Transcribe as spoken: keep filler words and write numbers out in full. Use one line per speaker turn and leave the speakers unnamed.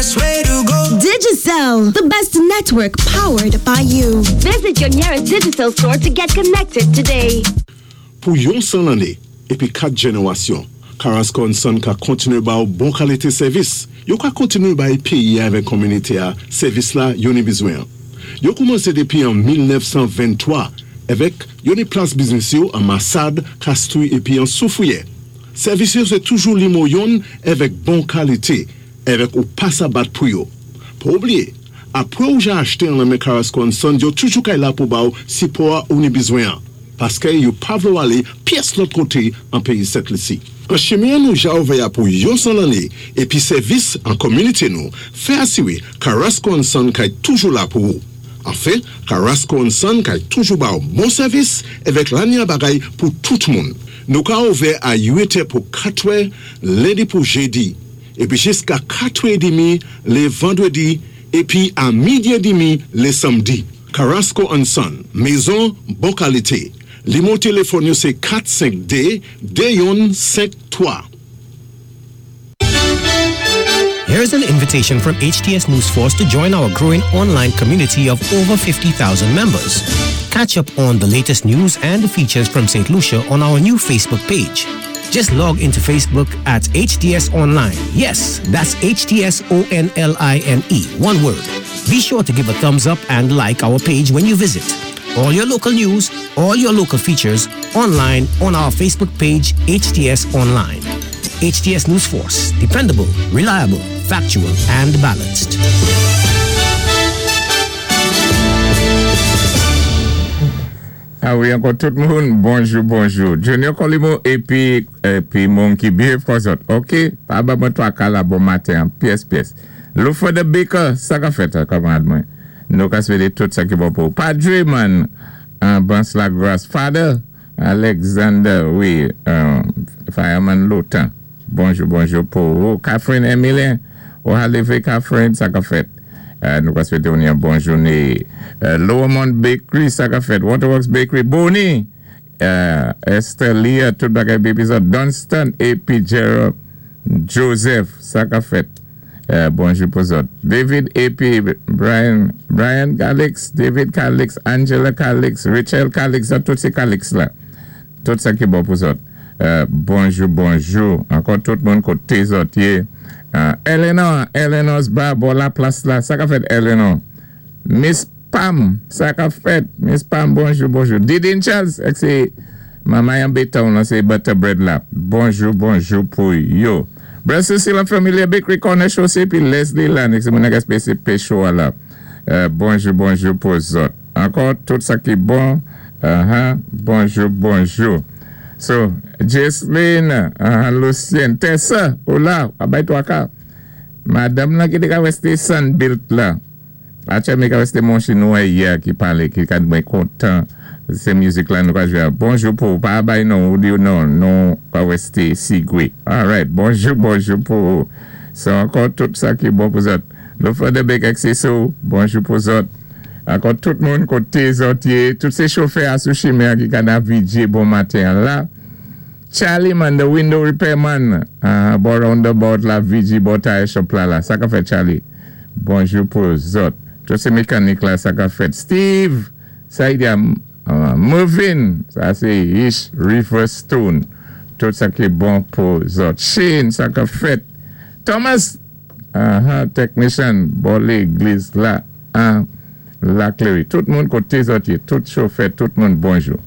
best way to go.
Digicel, the best network powered by you. Visit your nearest Digicel store to get connected today.
Pou yon san lanné, épi kat jénéwasyon, Carrasco and Son ka kontiné ba ou bon kalité sèvis. Yo ka kontiné bay péyi avèk kominité-a, sèvis la yo ni bizwen. Yo koumansé dépi an mil nèf san venntwa, avèk yo ni plas biznis yo an Massade, Castries épi an Soufrière. Sèvis yo sé toujou nimwo youn avèk bon kalité, avèk ou pa sa bat pou yo. Pa oubliyé, apwé ou ja achté an nan men Carrasco and Son, yo toujou kay la pou ba ou sipò ou ni bizwen. Paské yo pa vlé ou alé pyès lòt koté an péyi Sent Lisi. An chimen nou ja ouvè pou yon san lanné épi sèvis an kominité nou, fè asiwé Carrasco and Son kay toujou la pou ou. Anfen, Carrasco and Son kay toujou ba ou bon sèvis avèk lanya bagay pou tout moun. Nou ka ouvè a uit è pou katwè, lendi pou jédi, épi jiska katwè édmi lé vandwédi, épi a midi édmi lé sanmdi. Carrasco and Son, mézon bon kalité. Nimwo téléfòn yo sé kat senk dé de youn senk twa.
Here's an invitation from H T S News Force to join our growing online community of over fifty thousand members. Catch up on the latest news and features from Saint Lucia on our new Facebook page. Just log into Facebook at H T S Online. Yes, that's H T S O N L I N E, one word. Be sure to give a thumbs up and like our page when you visit. All your local news, all your local features online on our Facebook page, H T S Online. H T S News Force, dependable, reliable, factual, and balanced.
Ah wi, ankò tout moun, bonjou, bonjou. Junior Colimo épi, épi moun ki behave kon zòt. OK, pa ba mwen twaka la bon maten, pyès, pyès. Lufa the Baker, sa ka fèt, kanmarad mwen. Nou ka swété tout sa ki bon pou. Padre man, an Bans la Grace. Father Alexander, wi, um, fireman Lotan. Bonjou, bonjou pou ou. Catherine Emilien, ou halévé Catherine, sa ka fèt. Euh, nou ka swété ou yon bon jouné. Euh, Lowermont Bakery, sa ka fèt. Waterworks Bakery, Bonnie, euh, Esther Leah, tout bagay baby zòt. Dunstan, épi Gerald Joseph, sa ka fèt. Euh, bonjou pou zòt. David épi Brian, Brian Calix, David Calix, Angela Calix, Rachel Calix, ça, tout sé Calix la. Tout sa ki bon pou zòt. Euh, bonjou, bonjou. Ankò tout moun koté zòt yé. Euh, Eleanor, Eleanor's bar, bò la plas la. Sa ka fèt, Eleanor. Miss Pam, sa ka fèt. Miss Pam, bonjou, bonjou. Didin Charles, ek sé Mama yon beton la, sé butter bread la. Bonjou, bonjou pou yo. Brother Cecile Familia Bakery Corner Chaussée, puis Leslie la, c'est moun ki spécial pécho la. Euh, bonjou, bonjou pou zòt. Ankò tout sa ki bon. Uh-huh. Bonjou, bonjou. So, Jesline, uh, Lucien, Tessa, ou la, abay twaka. Madanm la ki té ka wé sé Sunbuilt la. Achè mé ka wé sé moun chinwa yè ki palé, ki ka mwen kontan sé mizik la nou ka jwé. Bonjou pou, pa bay non, ou di non, non ka wé sé Sigwe. Alright, bonjou, bonjou pou. So, ankò tout sa ki bon pou zòt. Le fè de bek akseso, bonjou pou zòt. Ankò tout moun koté zòt yé, tout sé chofè a sou chimen ki ka navidjé bon maten la. Charlie man, the window repairman, uh, bò roundabout la, V G bò tire shop la la. Sa ka fèt, Charlie? Bonjou pou zòt. Tout sé mékanik la, sa ka fèt? Steve, sa y di a, uh, Mervin, sa sé Ish Riverstone. Tout sa ki bon pou zòt. Shane, sa ka fèt? Thomas, uh, technician, bò légliz la, an la Cléry. Tout moun koté zòt yé, tout chofè, tout moun bonjou.